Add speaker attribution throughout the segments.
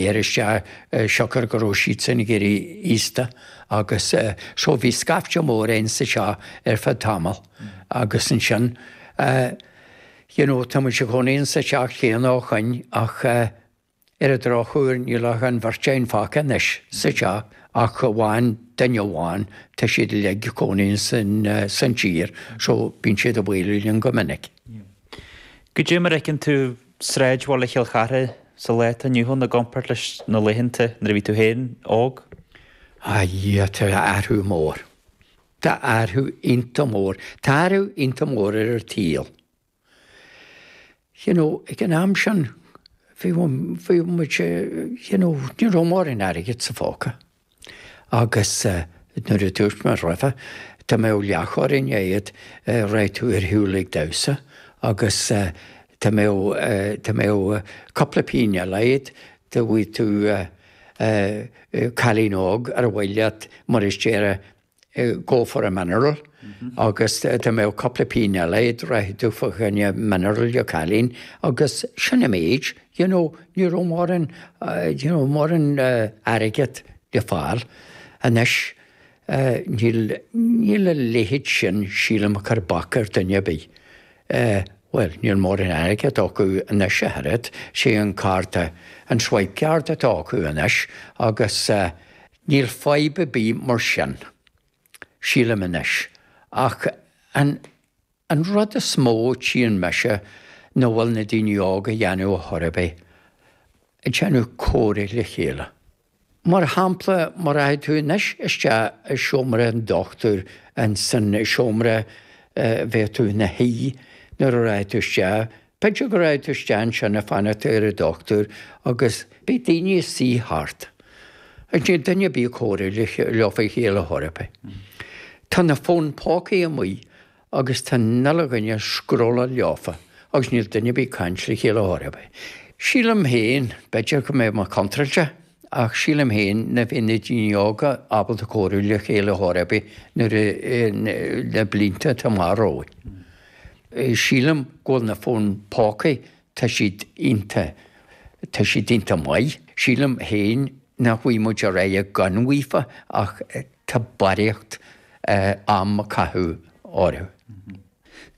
Speaker 1: Ar isteach siocair go raibh siadsan ag éirí aosta agus so bhí scaifte mór againn sa teach ar feadh tamaill agus ansin you know tá muid i gcónaí insa teach chéanna ó shoin ach ar an drochuair níl ach an bheirt againn fágtha anois sa teach ach amháin duine amháin tá siad uilig ag cónaí san tír so bíonn siad ag bualadh linn go minic.
Speaker 2: Goidé mar a fheiceann tú sráidbhaile Chill Chartha sa lá atá inniu ann i gcomparáid leis na laethanta nuair a bhí tú féin óg?
Speaker 1: A Dhia, tá athrú mór. Tá athrú iontach mór. Tá athrú iontach mór ar an tsaol. You know, ag an am sin, bhí, bhí muid, you know, ní raibh mórán airgid sa phóca. Agus nuair a dúirt mé roimhe, dá mbeadh leathchoróin agat, raghadh tú ar shiúl ag damhsa, agus dá mbeadh, dá mbeadh cúpla pingin eile agat, dá bhfaigheadh tú cailín óg ar mhaith leat, mar is déarfá, go for a mineral agus dá mbeadh cúpla pingin eile agat raghadh tú fá choinne mineral le cailín agus sin an méid, you know, ní raibh mórán, you know, mórán airgead le fáil. Anois níl, níl a leithéid sin sílim ag cur bac ar duine ar bith. Bhuel, níl mórán airgead acu anois ach oiread, sé an cárta, an swipe card atá acu anois agus Níl fadhb ar bith mar sin, sílim anois, ach an an rud is mó a tchíonn mise nach bhfuil na daoine óga a dhéanamh ar chor ar bith, ag déanamh comhrá le chéile. Mar shampla, má rachaidh tú anois isteach i seomra an dochtúir, insan seomra a bheadh tú ina shuí nuair a rachaidh tú isteach, B'fhéidir go rachaidh tú isteach ansin ag fanacht ar an dochtúir agus beidh daoine ag suí thart. Agus níl duine ar bith ag comhrá leo fá chéile chor ar bith. Tá na fóin pócaí amuigh agus tá an uile dhuine ag scrolláil leofa agus níl duine ar bith ag caint le chéile chor ar bith. Sílim féin, b'fhéidir go mbeidh mé contráilte, ach sílim féin nach mbeidh na daoine óga ábalta comhrá le chéile chor ar bith nuair a, na blianta atá amach romhainn. Sílim go bhfuil na fóin pócaí, tá siad iontach, tá siad iontach maith. Sílim féin nach bhfaighidh muid ar aghaidh gan uafa ach tá barraíocht am a caitheamh orthu.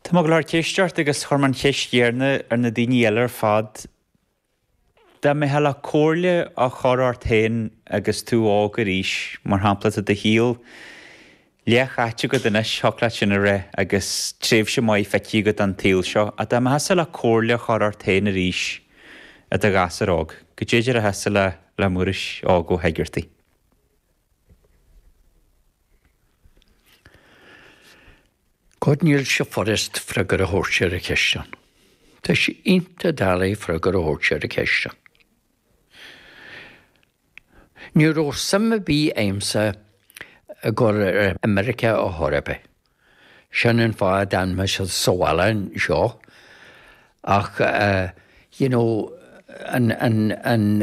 Speaker 2: Tá mé ag gabháil a chur ceist ort agus chuir mé an cheist chéanna ar na daoine eile ar fad. Dá mbeifeá le comhairle a chur ort féin agus tú óg arís, mar shampla, tá do shaol leathchaite agat anois, thiocfadh leat sin a rá, agus tréimhse maith feicthe agat den tsaol seo, ach dá mbeifeása le comhairle a chur ort féin arís i do ghasúr óg, goidé a déarfása le le Muiris óg Ó hEigeartaigh?
Speaker 1: God níl sé furast freagra a thabhairt ar an cheist sin. Tá sé iontach doiligh freagra a thabhairt ar an cheist sin. Ní raibh suim ar bith a'msa ag dul ar imirce ar chor ar bith. Sin an fáth a d'fhan mise sa bhaile anseo. Ach you know an an an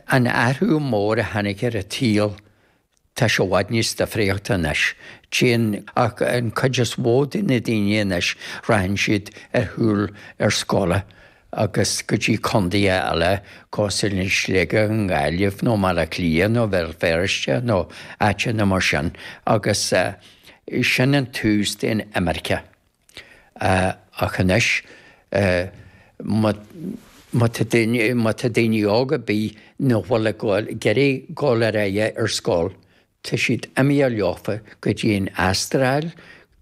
Speaker 1: an athrú mór a tháinig ar an tsaol Tá sé i bhfad níos difríochta anois. Téann, ach an cuid is mhó de na daoine anois, rachaidh siad ar shiúl ar scoile agus go dtí contaetha eile cosúil le Sligeach, an Ghaillimh nó Baile Átha Cliath nó Bhéal Feirste nó áiteanna mar sin agus sin an tús den imirce. Ach anois, má tá daoine, má tá daoine óga ar bith nach bhfuil ag gabháil, ag iarraidh dul ar aghaidh ar scoil, tá siad imithe leofa go dtí an Astráil,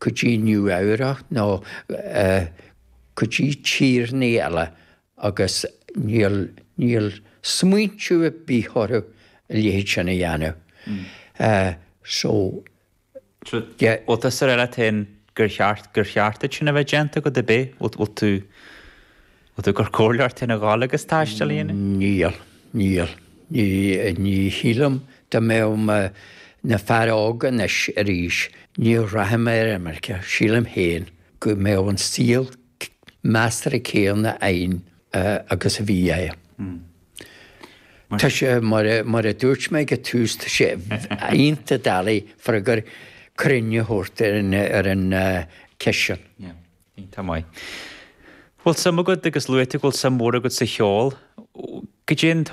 Speaker 1: go dtí Nua Eabhrac nó go dtí tíreanna eile agus níl, níl smaointiú ar bith orthu a leithéid sin a dhéanamh. So.
Speaker 2: Bhfuil tusa ag rá leat féin gur cheart, gur cheart duit sin a bheith déanta agat ab é? Bhfuil tú, bhfuil tú ag cur comhairle ort féin a dhul agus taisteal a dhéanamh?
Speaker 1: Níl, níl. Ní, ní shílim dá mbeadh mé ina fear óg anois arís, ní rachaidh mé ar imirce, sílim féin go mbeadh an saol measartha céanna againn agus a bhí agam. Tá sé, mar a dúirt mé ag an tús, tá sé iontach doiligh freagra cruinn a thabhairt ar an cheist sin.
Speaker 2: Yeah, iontach maith. Bhfuil suim agat agus luaigh tú go bhfuil suim mhór agat sa cheol. Goidé an.